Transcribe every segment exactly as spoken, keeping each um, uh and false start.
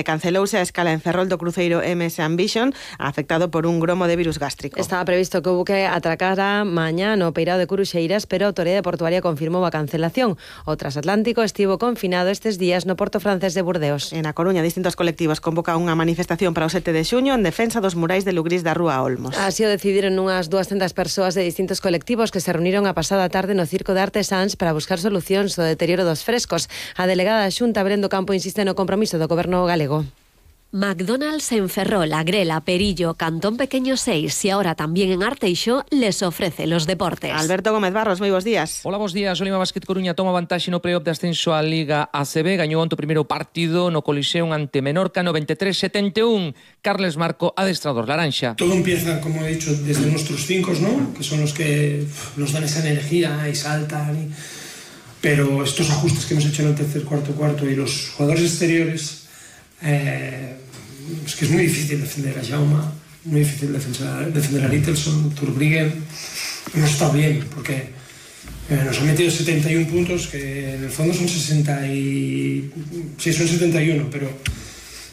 Cancelouse a escala en Ferrol do cruceiro M S Ambition, afectado por un gromo de virus gástrico. Estaba previsto que o buque atracara mañá no peirao de Curuxeiras, pero a Autoridade Portuaria confirmou a cancelación. O transatlántico estivo confinado estes días no porto francés de Burdeos. En A Coruña, distintos colectivos convocan unha manifestación para o sete de xuño en defensa dos murais de Lugrís da Rúa Olmos. Así o decidiron unhas duascentas persoas de distintos colectivos que se reuniron a pasada tarde no Circo de Artesáns para buscar solucións do deterioro dos frescos. A delegada da Xunta, Brendo Campo, insiste no compromiso do goberno galego. McDonald's en Ferrol, Agrela, Perillo, Cantón Pequeño seis y ahora también en Arteixo les ofrece los deportes. Alberto Gómez Barros, moi bons días. Hola, bons días. O Lima Basket Coruña toma vantaxe no playoff de ascenso á Liga A C B. Gañou onte o primeiro partido no Coliseum ante Menorca, noventa e tres a setenta e un. Carles Marco, adestrador laranxa. Todo empieza, como he dicho, desde nuestros cinco, ¿no? Que son los que nos dan esa energía y saltan. Y... Pero estos ajustes que hemos hecho en el tercer, cuarto, cuarto y los jugadores exteriores... Eh, es que es muy difícil defender a Jaume, muy difícil defender, defender a Littelson, Turbriggen. Hemos estado bien porque eh, nos han metido setenta y un puntos, que en el fondo son sesenta y... sí, son setenta y uno, pero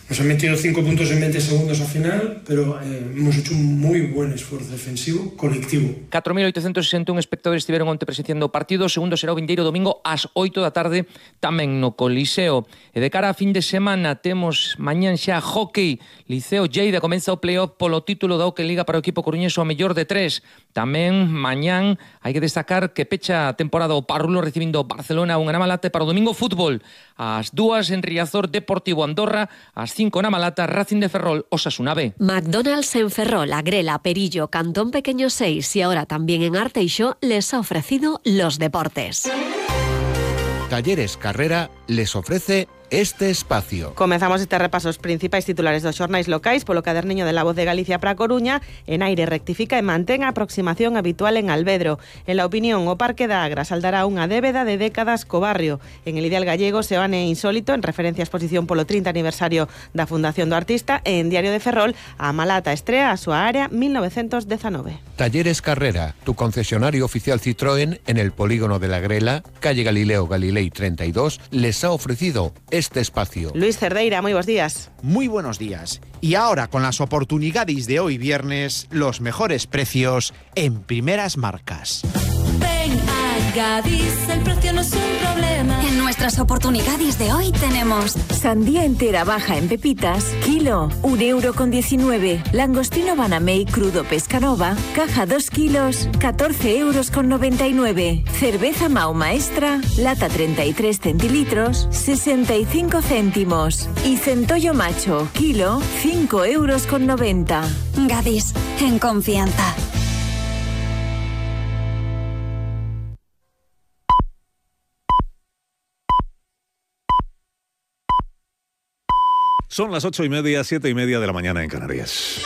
nos han metido cinco puntos en veinte segundos al final, pero eh, hemos hecho un muy buen esfuerzo defensivo colectivo. catro mil oitocentos sesenta e un espectadores estiveron onte presenciando o partido. O segundo será o vindeiro domingo ás oito da tarde tamén no Coliseo. E de cara a fin de semana temos mañán xa hockey. Liceo Lleida comeza o playoff polo título da Oque Liga para o equipo coruñés ao mellor de tres. Tamén mañán hai que destacar que pecha a temporada o Parrulo recibindo Barcelona unha na Malata. Para o domingo fútbol ás dúas en Riazor, Deportivo Andorra, ás cinco na Malata, Racing de Ferrol, Osasuna B. McDonald's en Ferrol, Agrela, Perillo, Cantón Pequeño seis y ahora también en Arteixo les ha ofrecido los deportes. Talleres Carrera les ofrece este espacio. Comezamos este repaso os principais titulares dos xornais locais polo caderniño de La Voz de Galicia para a Coruña. Enaire rectifica e mantén a aproximación habitual en Alvedro. En la opinión, o Parque da Agra saldará unha débeda de décadas co barrio. En el Ideal Gallego, Seoane Insólito, en referencia á exposición polo trinta aniversario da Fundación do Artista, e en Diario de Ferrol, a Malata estrea a súa área mil novecientos dezanove. Talleres Carrera, tu concesionario oficial Citroën en el polígono de la Grela, calle Galileo Galilei treinta y dos, les ha ofrecido este espacio. Luis Cerdeira, muy buenos días. Muy buenos días. Y ahora, con las oportunidades de hoy viernes, los mejores precios en primeras marcas. Ven a Gadis, el precio no es un problema. En nuestras oportunidades de hoy tenemos sandía entera baja en pepitas, kilo, un euro con diecinueve. Langostino Banamey crudo Pescanova, caja dos kilos, catorce euros con noventa y nueve. Cerveza Mau Maestra, lata treinta y tres centilitros, sesenta y cinco céntimos. Y centollo macho, kilo, cinco euros con noventa. Gadis, en confianza. Son las ocho y media, siete y media de la mañana en Canarias.